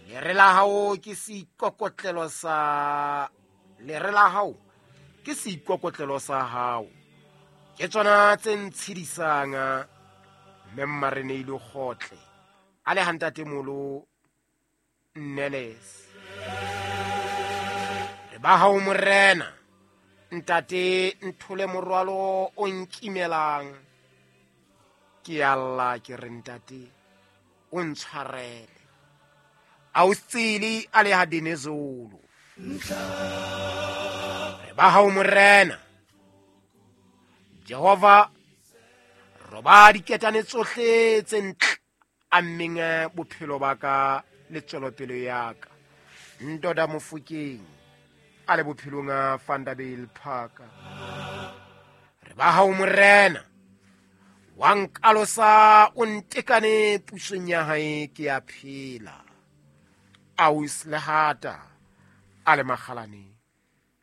Lere la hao ke seikokotlelo sa lere la hao ke seikokotlelo sa hao. Ke tsona tse ntshedisang mme Mmareneile Kgotle a le hantatemolo Nneles. Re ba hao morena, ntate nthole morwalo o nkimelang. Ke a lla ke re ntate o ntshwarele. Ausitsili a le ha Dinezulu. Re ba hao morena. Jehova roba diketane tsohle tse ntle ammeng bophelo ba ka le tswelopele ya ka. Ntoda Mofokeng a le bophelong a Vanderbijl Park. Re ba hao morena. Wa nkalosa o ntekane pusong ya hae ke a phela. Aus Lehata a le makgalaneng.